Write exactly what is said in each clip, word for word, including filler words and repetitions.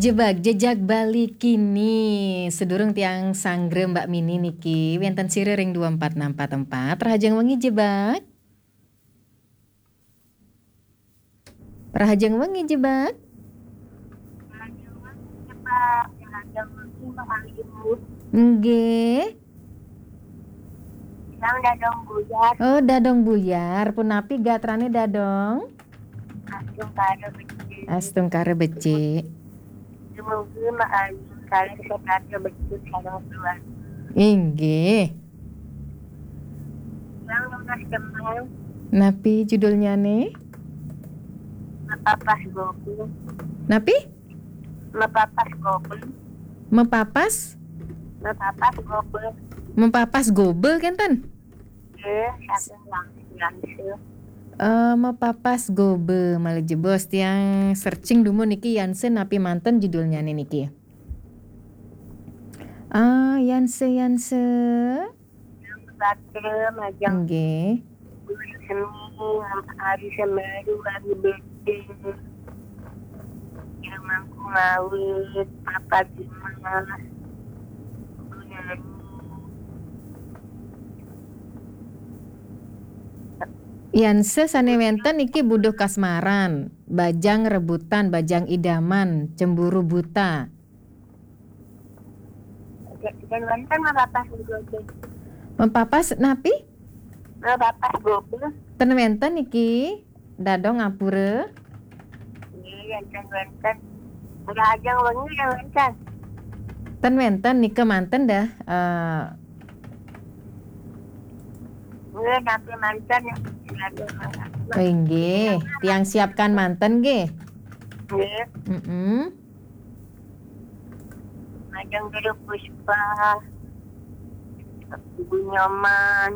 Jebak, jejak Bali kini. Sedurung tiang sanggra Mbak Mini niki, wénten sira ring dua empat enam empat empat. Rahajeng wengi Jebak. Rahajeng wengi Jebak. Rahajeng wengi, Mbak Ayu. Nggih. Tiang Dadong Buyar. Oh, Dadong Buyar. Punapi gatrané Dadong? Astungkara becik. Astungkara becik. Dumugi Mbak Ayu kalih setata becik sareng keluarga. Inggih. Tiang nunas tembang. Napi judulnyané? Mepapas Gobe. Napi? Mepapas Gobe. Mepapas? Mepapas Gobe. Mepapas Gobe kénten? Nggih, saking Yang-, Yanse. Eh, Mepapas Gobe, malih jebos tiang searching dumun niki Yanse napi manten judulnyané niki. Ah, Yanse, Yanse. Batra, majeng. Nggih. Guru seni, Ari Semeru, Ari Bete. Yang Mangku Ngawit, Papa Dimas, Bu Nani. Yanse sané wénten niki Buduh Kasmaran, Bajang Rebutan, Bajang Idaman, Cemburu Buta. Ten wénten Mepapas Gobe. Mepapas napi? Mepapas Gobe. Ten wénten niki, Dadong ngapura. Nggih, wénten, wénten. Rahajeng wengi ten wénten. Ten wénten nika manten dah, eh, Nggih, napi manten. Oh, inggih, tiang siapkan manten nggih. Nggih. Mm-mm. Majeng Guru Puspa, Ibu Nyoman.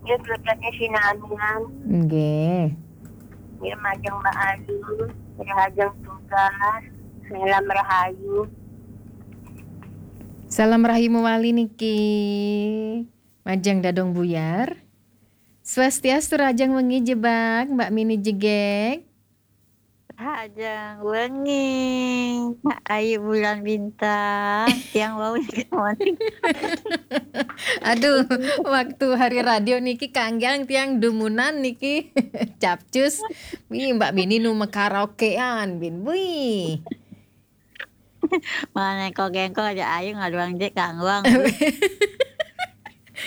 Nggih, keluarganya Sinamian. Nggih. Nggih, majeng Mbak Ayu, rahajeng tugas, salam rahayu. Salam rahayu mawali niki. Majeng Dadong Buyar. Swastiastu, rahajeng wengi Jebak, Mbak Mini jegég. Rahajeng wengi, Ayu Bulan Bintang, tiang wau niki mawon. Aduh, waktu hari radio niki kanggiang tiang dumunan niki capcus. Wih, Mbak Mini nu makaraokean, bin. Wih. Mana kok gengkol aja Ayu ngaduang jé kangguang.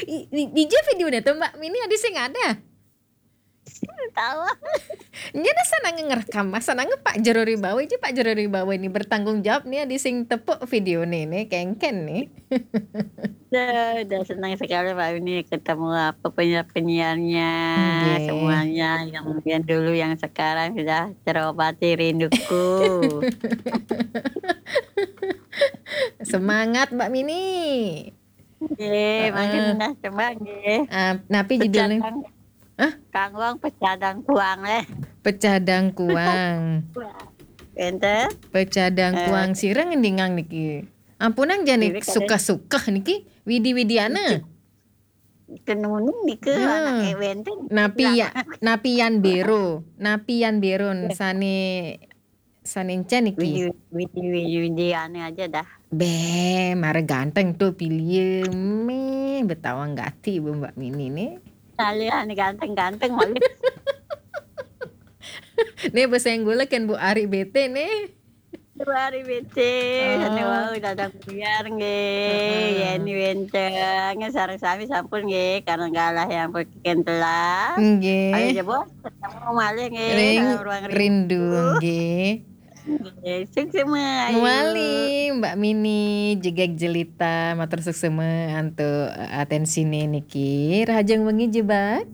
I-, di, di jé vidéoné to, Mbak Mini, adi sing ada? Tahu. Nya dah sanang ngerekam, sanang Pak Jero Ribawa, jé Pak Jero Ribawa ini bertanggung jawab nih, adi sing tepuk vidéoné nih, kéngkén nih. Dah, dah senang sekali Pak ini ketemu apa penyiar-penyiarnya, nggih, semuanya yang, yang dulu, yang sekarang sudah terobati rinduku. Semangat, Mbak Mini. Nggih, heeh, mangkin dah coba nggih. Ah, napi judulnya? Pecadang. Hah? Kangguang pecadang kuang leh. Pecadang kuang. Enten? Pecadang, eh, kuang sira ngendingang niki. Ampunang jani suka-suka niki, widi-widiana. Tenunu nika, ya, anak wénten. Napi ya, napi yan bero, napi yan bero, ya, sané, sané encén niki. Widi, widi, widi, widi, ane aja dah. Béh, mara ganteng tuh pilih. Méh, betawang gati Bu Mbak Mini nih. Kalian ganteng-ganteng malu. Nih, besenggula kan Bu Ari bete nih. Dua hari becik, oh, anu wau dadang buyar nggih. Heeh. Yéni wénten, sareng sami sampun nggih, karena galah yang perkiken telah. Nggih. Ayo jebos, ketemu malih nggih, ring dalam ruang rindu, rindu nggih. Nggih, suksema, ayo. Mawali, Mbak Mini, jegég jelita, matur suksema antuk, eh, atensiné niki. Rahajeng wengi Jebak.